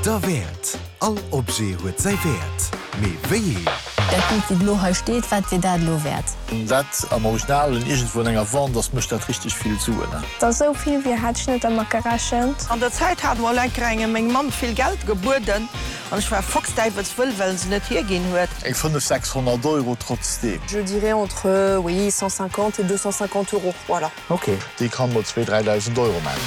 Derwäert! All Objet huet säi Wäert, mee wéi een? Dat Bild wéi et elo hei steet, wat wier dat elo wäert? Wann dat am Originalen iergendwou an enger Wand ass, mécht dat richteg vill Suen. Der sou vill wier hat ech net dermat gerechent. An der Zäit hat mol enker engem meng Mamm vill Geld gebueden an ech war foxdäiwelswëll, well se net hierginn huet. Eng 5, 600 Euro trotzdeem. Je dirais entre, oui, 150 et 250 euros, voilà. Ok, déi kann mol zwee, 3.000 Euro man.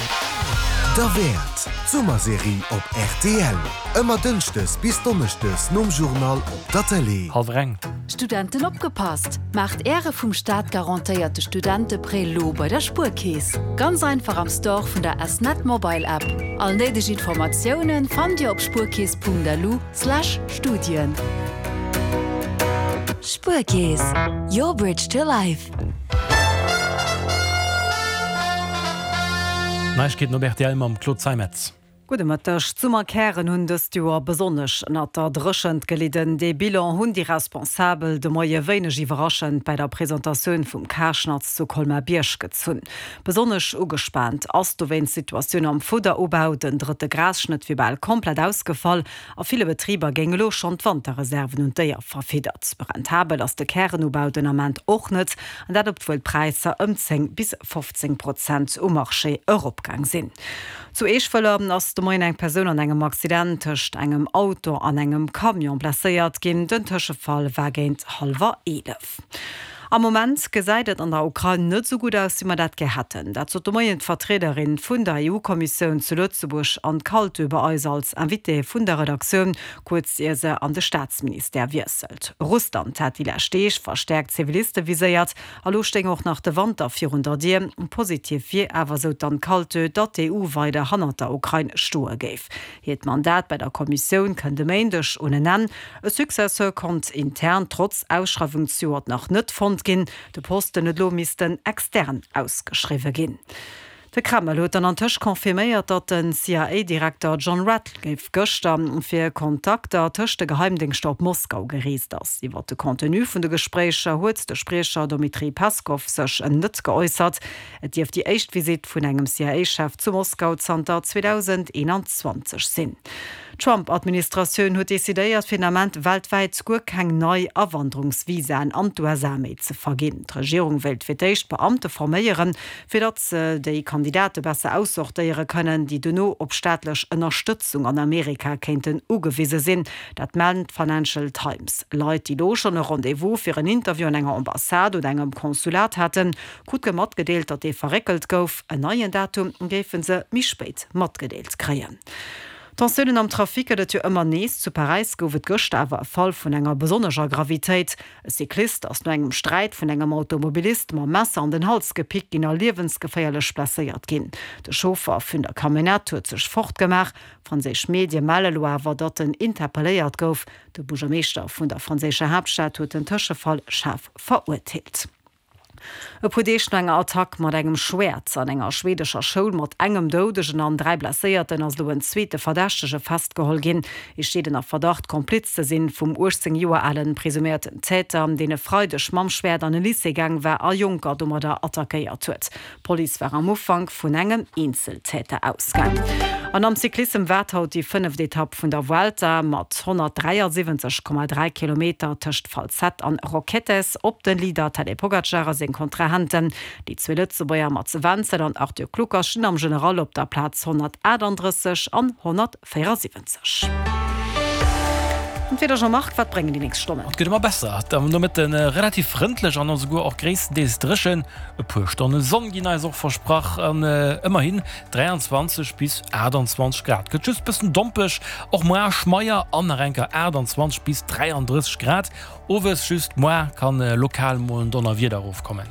Derwäert, d'Summerserie op rtl. Ëmmer dënschdes bis donneschdes nom Journal op der Tëlee. Hallwer eng. Studenten opgepasst! Maacht Äre vum Staat garantéierte Studenteprêt lo bei der Spuerkeess. Ganz einfach am Store vun der S-Net Mobile App. All néideg Informatiounen fannt Dir op spuerkeess.lu slash Studien. Spuerkeess, your bridge to life. Neiegkeeten op rtl mam Claude Zeimetz. Gudde Mëtteg. D'Summerkären hunn dëst Joer besonnesch ënnert der Dréchent gelidden. Dee Bilan hunn déi Responsabel de Moie wéineg iwwerraschend bei der Presentatioun vum Karschnatz zu Colmar-Bierg gezunn. Besonnesch ugespaant ass dowéinst d'Situatioun am Fudderubau. Den drëtte Grasschnëtt wier bal komplett ausgefall. A ville Betriber géing elo schonn d'Wanterreserven un d'Déier verfiddert. Rentabel ass de Kärenubau den Ament och net, an dat obwuel d'Präisser ëm 10 bis 15 Prozent um Marché eropgaang sinn. Zu Eeschwëller ass de Moien eng Persoun an engem Accident tëscht engem Auto an engem Camion blesséiert ginn. Den Tëschefall war géint hallwer 11. Am Moment gesäit et an der Ukrain net esou gutt aus, wéi mer dat gär hätten. Dat sot de Moien d'Vertriederin vun der EU-Kommissioun zu Lëtzebuerg, Anne Kaltö, bei eis als Invitée vun der Redaktioun, kuerz ier se an de Staatsministère wiesselt. Russland hat déi lescht Deeg verstäerkt Ziviliste viséiert. A lo stéing och nach de Wanter virun der Dier. Positiv wier awer, sou d'Anne Kaltö, datt d'EU weider hannert der Ukrain stoe géif. Hiert Mandat bei der Kommissioun kënnt e Méindeg un en Enn. E Successeur konnt intern trotz Ausschreiwung zejoert nach net fonnt ginn. De Posten huet elo missten extern ausgeschriwwe ginn. De Kreml huet dann antëscht confirméiert, datt den CIA-Direkter John Ratcliffe gëschter fir Kontakter tëscht de Geheimdéngschter op Moskau gereest ass. Iwwer de Contenu vun de Gespréicher huet de Spriecher Dmitri Peskov sech net geäussert. Et dierft déi éischt Visitt vun engem CIA-Chef zu Moskau zanter 2021 sinn. D'Trump-Administratioun huet decidéiert, fir den Ament weltwäit guer keng nei Awanderungsvisaen an d'USA méi ze verginn. D'Regierung wéilt fir d'éischt Beamte forméieren, fir datt se déi Kandidate besser aussortéiere kënnen, déi dono op staatlech Ënnerstëtzung an Amerika kéinten ugewise sinn. Dat mellt d'Financial Times. Leit, déi elo schonn e Rendez-vous fir en Interview an enger Ambassade oder engem Consulat haten, Krute matgedeelt, datt dee verréckelt gouf. En neien Datum géife se méi spéit matgedeelt kréien. Tensiounen am Trafic gëtt et jo ëmmer nees. Zu Paräis gouf et gëschter awer e Fall vun enger besonnescher Gravitéit. E Cyclist ass no engem Sträit vun engem Automobilist mam Messer an den Hals gepickt ginn a liewensgeféierlech blesséiert ginn. De Chauffer vun der Camionnette huet sech fortgemaach. Franséisch Medie melle lo awer, datt en interpelléiert gouf. De Buergermeeschter vun der franséischer Haaptstad huet den Tëschefall schaarf verurteelt. E puer Deeg no enger Attack mat engem Schwäert an enger schweedescher Schoul mat engem Doudegen an 3 Blesséierten ass elo en zweete Verdächtege festgeholl ginn. Hie steet ënner Verdacht, Kompliz ze sinn vum 18 Joer alen presuméierten Täter, deen e Freideg mam Schwäert an e Lycée gaang war a Jonker domadder attackéiert huet. D'Police war am Ufank vun engem Eenzeltäter ausgaang. An am Cyclissem waart haut déi fënneft Etapp vun der Vuelta mat 173,3 Kilometer tëscht Falset an Roquetes op de Leader Tadej Pogacar a seng Kontrahenten. Déi zwee Lëtzebuerger Mats Wenzel an Arthur Kluckers stinn am General op der Plaz 138 an 174. An d'Wieder Jean-Marc, wat bréngen déi nächst Stonnen? Et gëtt ëmmer besser, am Nomëtte relativ frëndlech an esouguer och gréisstendeels dréchen. E puer Stonne Sonn ginn eis och versprach an ëmmerhin 23 bis 28 Grad. Gëtt just bëssen dompeg, och moar schmeier an nach enker 28 bis 33 Grad. Owes just moar kann lokal mol en Donnerwieder erofkommen.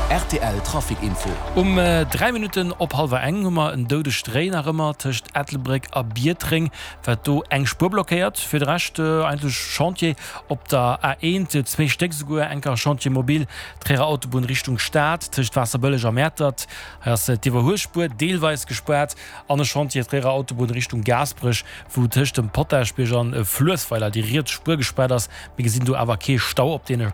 Rtl Trafic Info. Um 3 Minutten op hallwer eng hu mer en doudegt Réi nach ëmmer tëscht Ettelbréck a Biertreng, wat do eng Spuer blockéiert. Fir de Rescht eigentlech Chantier op der A1, zwéi Stéck esouguer, enker Chantier mobile Tréierer Autobunn Richtung Stad tëscht Waasserbëlleg a Mäertert. Hei ass d'Iwwerhuelspuer deelweis gespaart an e Chantier Tréierer Autobunn Richtung Gaasperech, wou tëscht dem Potaschbierg an Fluessweiler déi riets Spuer gespaart ass. Mir gesinn do awer kee Stau op deene.